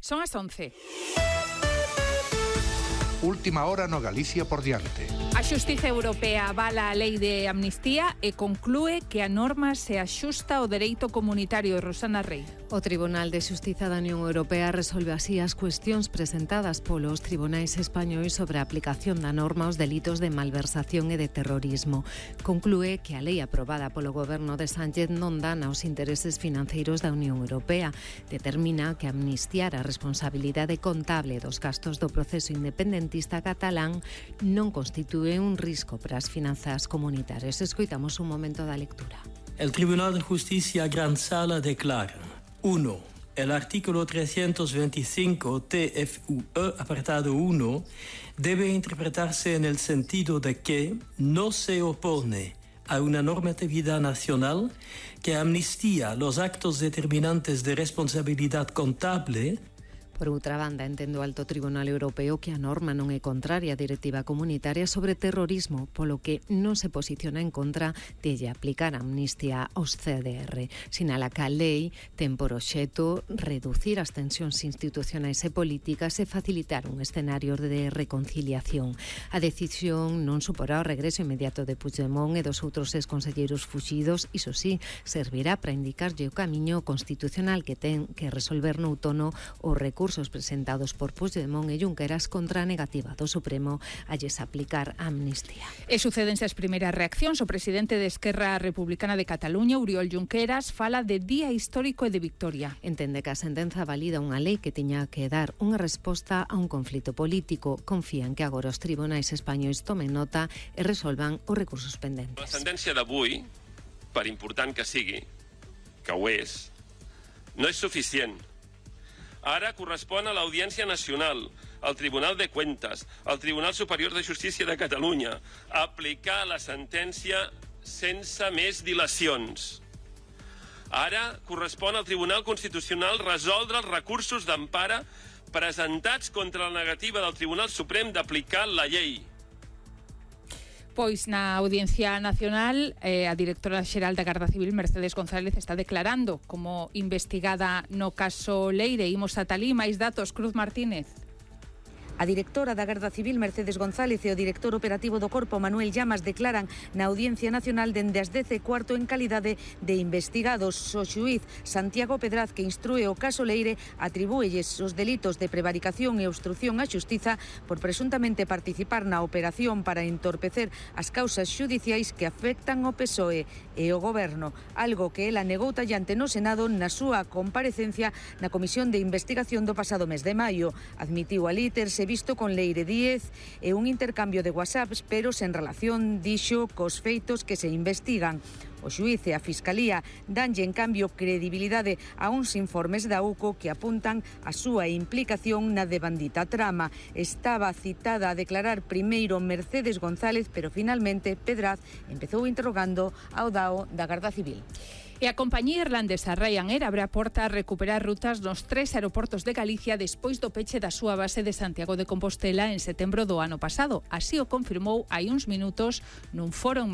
Son as 11. Última hora no Galicia por diante. A Xustiza Europea avala a lei de amnistía e conclúe que a norma se axusta ao dereito comunitario. Rosana Rey. O Tribunal de Xustiza da Unión Europea resolve así as cuestións presentadas polos tribunais españois sobre a aplicación da norma aos delitos de malversación e de terrorismo. Conclúe que a lei aprobada polo goberno de Sánchez non dana aos intereses financeiros da Unión Europea. Determina que amnistiar a responsabilidade contable dos gastos do proceso independentista catalán non constitúe un risco para as finanzas comunitarias. Escoitamos un momento da lectura. El Tribunal de Justicia Gran Sala declara: 1. El artículo 325 TFUE, apartado 1, debe interpretarse en el sentido de que no se opone a una normatividad nacional que amnistía los actos determinantes de responsabilidad contable. Por outra banda, entende o Alto Tribunal Europeo que a norma non é contraria á directiva comunitaria sobre terrorismo, polo que non se posiciona en contra de lle aplicar a amnistía aos CDR. Sinala que a lei ten por obxecto reducir as tensións institucionais e políticas e facilitar un escenario de reconciliación. A decisión non suporá o regreso inmediato de Puigdemont e dos outros exconselleiros fuxidos, iso sí, servirá para indicarlle o camiño constitucional que ten que resolver no outono o recursos presentados por Puigdemont e Junqueras contra a negativa do Supremo a lles aplicar a amnistía. E sucédense as primeiras reaccións. O presidente de Esquerra Republicana de Cataluña, Oriol Junqueras, fala de día histórico e de victoria. Entende que a sentenza valida unha lei que tiña que dar unha resposta a un conflito político. Confía en que agora os tribunais españois tomen nota e resolvan os recursos pendentes. La sentència d'avui, per important que sigui, que ho és, no és suficient. Ara correspon a l'Audiència Nacional, al Tribunal de Cuentas, al Tribunal Superior de Justícia de Catalunya, aplicar la sentència sense més dilacions. Ara correspon al Tribunal Constitucional resoldre els recursos d'empara presentats contra la negativa del Tribunal Suprem d'aplicar la llei. Pois na Audiencia Nacional a directora xeral da Garda Civil, Mercedes González, está declarando como investigada no caso Leire. Imos ata alí, máis datos, Cruz Martínez. A directora da Garda Civil, Mercedes González, e o director operativo do Corpo, Manuel Llamas, declaran na Audiencia Nacional dende as 10:15 en calidade de investigados. O xuíz Santiago Pedraz, que instrúe o caso Leire, atribúelles os delitos de prevaricación e obstrución á xustiza por presuntamente participar na operación para entorpecer as causas xudiciais que afectan o PSOE e o Goberno, algo que ela negou tallante no Senado na súa comparecencia na Comisión de Investigación do pasado mes de maio. Admitiu alí terse visto con Leire Díez e un intercambio de WhatsApps, pero sen relación, dixo, cos feitos que se investigan. O xuíz e a Fiscalía danlle, en cambio, credibilidade a uns informes da UCO que apuntan a súa implicación na devandita trama. Estaba citada a declarar primeiro Mercedes González, pero finalmente Pedraz empezou interrogando ao DAO da Garda Civil. E a compañía irlandesa Ryanair abre a porta a recuperar rutas nos 3 aeroportos de Galicia despois do peche da súa base de Santiago de Compostela en setembro do ano pasado. Así o confirmou hai uns minutos nun foro en